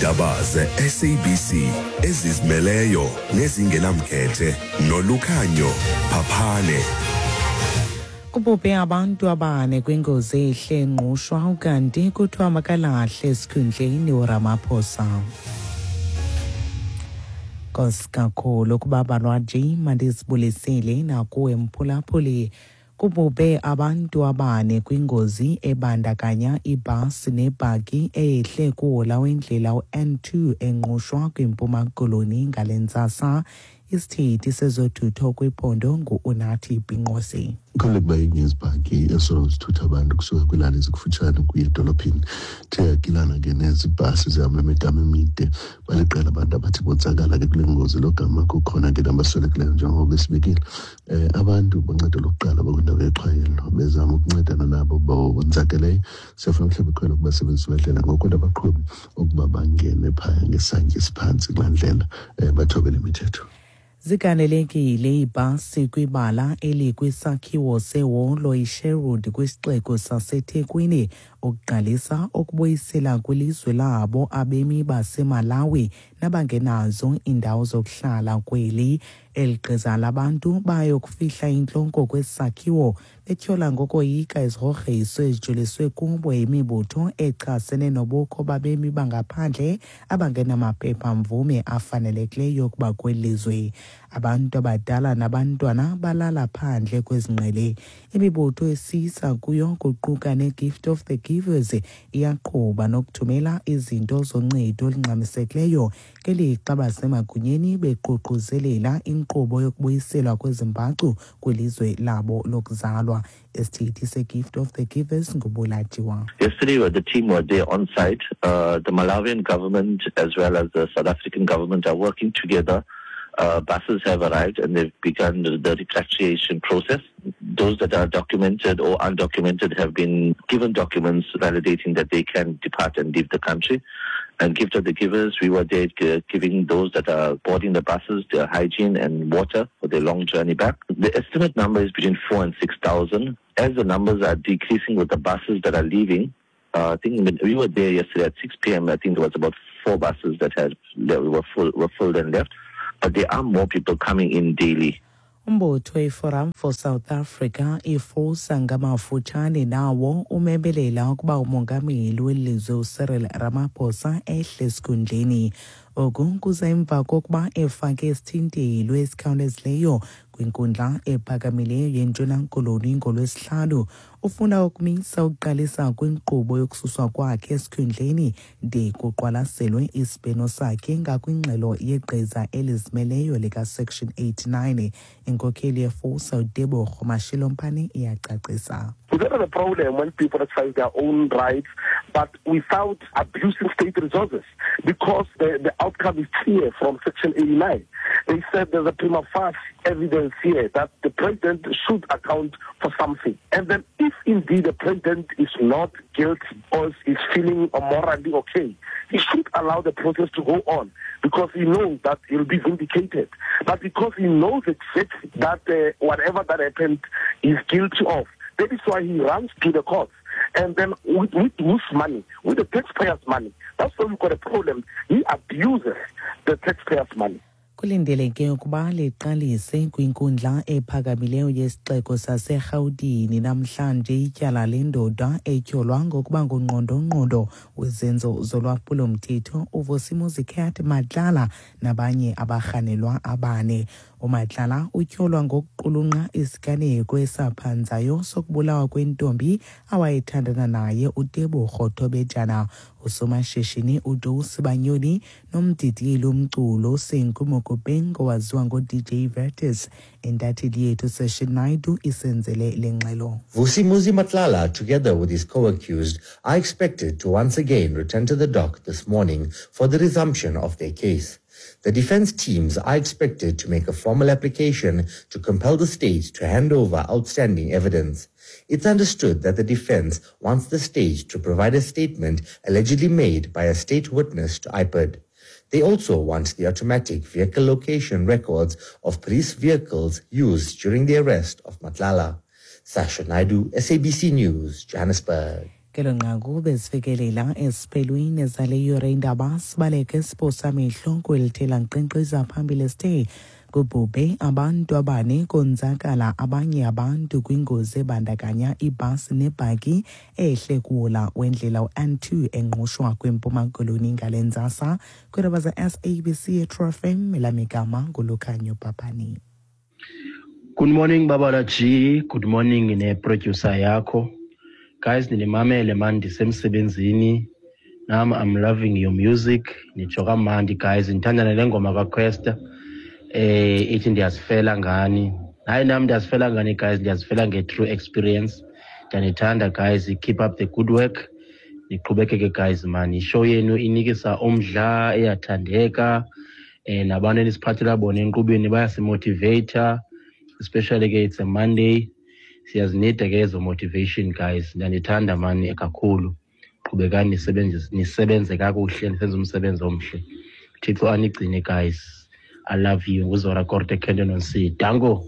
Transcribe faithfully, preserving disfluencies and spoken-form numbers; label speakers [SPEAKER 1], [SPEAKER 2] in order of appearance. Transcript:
[SPEAKER 1] Iindaba ze-S A B C ezizimeleyo nezingenamkhethe noLukhanyo Phaphane.
[SPEAKER 2] Kubhubhe abantu abane kwingozi ehle eNgqushwa, ukanti kuthiwa makalahle esikhundleni uRamaphosa. Nkosi kakhulu kubabalwa nje, mandizibulisele nakuwe mphulaphuli. Kubhubhe abantu abane kwingozi ebandakanya ibhasi nebhaki eyehle kuhola wendlela u-N two eNgqushwa kwiMpuma Koloni ngale ntsasa. Isithethi sezothutho kwiphondo ngu-Unathi Binqose.
[SPEAKER 3] Kukhona ukuba enye yezibhaki esoloko zithutha abantu kusuka kwiilali ezikufutshane ukuya edolophini. Ithe yagilana ke nezi bhasi zihamba imigama emide. Baliqela abantu abathi bonzakala ke kule ngozi, lo gama kukhona ke nabaswelekileyo njengoba besibekile. Eh, abantu boncedo lokuqala bakwindawo yexhwayelo bezama ukuncedana nabo bonzakeleyo. Siyafuna mhlawumbi ikhwelo kubasebenzisi bendlela ngoku nabaqhubi ukuba bangene phaya ngesantya esiphantsi kulaa ndlela, eh, bathobele imithetho.
[SPEAKER 2] Zigalelekile iibhasi kwibala elikwisakhiwo seholo iSherwood kwisixeko saseThekwini ukuqalisa ukubuyisela kwilizwe labo abemi baseMalawi nabangenazo iindawo zokuhlala kweli. Eli gqiza labantu bayokufihla intloko kwesi sakhiwo betyhola ngokoyika izigrogriso ezijoliswe kubo yimibutho echasene nobukho babemi bangaphandle abangenamaphepha-mvume afanelekileyo ukuba kweli lizwe. Abantu abadala nabantwana balala phandle kwezingqele. Imibutho esiyisa kuyo kuquka neGift of the Givers iyaqhuba nokuthumela izinto zoncedo olungxamisekileyo ngelixa basemagunyeni beququzelela inkqubo yokubuyiselwa kwezimbacu kwilizwe labo lokuzalwa. Isithethi seGift of the Givers nguBulajiwa.
[SPEAKER 4] Yesterday, the team were there on site. Uh, the Malawian government as well as the South African government are working together. Uh, buses have arrived and they've begun the, the repatriation process. Those that are documented or undocumented have been given documents validating that they can depart and leave the country. And Gift of the Givers, we were there giving those that are boarding the buses their hygiene and water for their long journey back. The estimate number is between four and six thousand. As the numbers are decreasing with the buses that are leaving, uh, I think we were there yesterday at six P M. I think there was about four buses that had that were full, were filled and left. But there are more people coming in daily.
[SPEAKER 2] Umbutho iForum for South Africa iFOSA ngamafutshane nawo umemelela ukuba umongameli welizwe uCyril Ramaphosa ehle esikhundleni. Oku kuza emva kokuba efake isithintelo esikhawulezileyo kwinkundla ephakamileyo yeNtshona Koloni ngoLwesihlanu. Ufuna ukumisa ukuqalisa kwinkqubo yokususwa kwakhe esikhundleni de kuqwalaselwe isibheno sakhe ngakwingxelo yegqiza elizimeleyo lika-Section eighty-nine. Inkokheli yeFOSA uTebogo Mashilompane iyacacisa.
[SPEAKER 5] We don't have a problem when people exercise their own rights, but without abusing state resources, because the, the outcome is clear from Section eighty-nine. They said there's a prima facie evidence here that the president should account for something. And then if indeed the president is not guilty or is feeling morally okay, he should allow the process to go on, because he knows that he'll be vindicated. But because he knows exactly that, uh, whatever that happened, he's guilty of, that is why he runs to the courts. And then with, with whose money? With the taxpayers' money. That's why we've got a problem. He abuses the taxpayers' money.
[SPEAKER 2] Kulindeleke ukuba liqalise kwinkundla ephakamileyo yesixeko saseRhawutini namhlanje ityala lendoda etyholwa ngokuba ngungqondongqondo wezenzo zolwaphulomthetho uVusimuzi Cat Matlala nabanye abarhanelwa abane. UMatlala utyholwa ngokuqulunqa isiganeko esaphanzayo sokubulawa kwentombi awayethandana naye uTebogo Thobejane. Usomashishini uJoe Sibanyoni nomdidiyeli womculo uSenku Mokopeng owaziwa ngo-D J Vertis. Intatheli yethu Session Naidu isenzele le ngxelo.
[SPEAKER 6] Vusimuzi Matlala, together with his co-accused, are expected to once again return to the dock this morning for the resumption of their case. The defense teams are expected to make a formal application to compel the state to hand over outstanding evidence. It's understood that the defense wants the state to provide a statement allegedly made by a state witness to I P I D. They also want the automatic vehicle location records of police vehicles used during the arrest of Matlala. Sasha Naidu, S A B C News, Johannesburg.
[SPEAKER 2] Ngelo nqaku bezifikelela esiphelweni zale yure indaba. Sibaleke siphosa amehlo kwelithela nkqenkqeza phambili. Sithe kubhubhe abantu abane, konzakala abanye abantu kwingozi ebandakanya ibhasi nebhaki ehle kuwola wendlela u-N two eNgqushwa kwiMpuma Koloni ngale ntsasa. Kwiindaba ze-S A B C eTru F M, elamigama nguLukhanyo Papani.
[SPEAKER 7] Good morning, Babala G. Good morning ne-producer yakho. Guys, ninimamele man ndisemsebenzini. Nam I'm loving your music. Nitsho kamandi guys. Ndithanda nale ngoma kaQuesta. Eh ithi "Ndiyazifela ngani". Hayi, nam ndiyazifela ngani guys, ndiyazifela nge-true experience. Ndiyanithanda guys, keep up the good work. Niqhubekeke guys man. I-show yenu inikisa umdla, iyathandeka. Eh nabantu enisiphathela bona enkqubeni bayasimotivata, especially ke it's a Monday, siyazinida ke ezo motivation guys. Ndiyanithanda mani kakhulu. Qhubekani nisebenze, nisebenze kakuhle, nisenze umsebenzi omhle. Thixo anigcine guys, I love you. NguZora Korte, Kenton on C. Danko.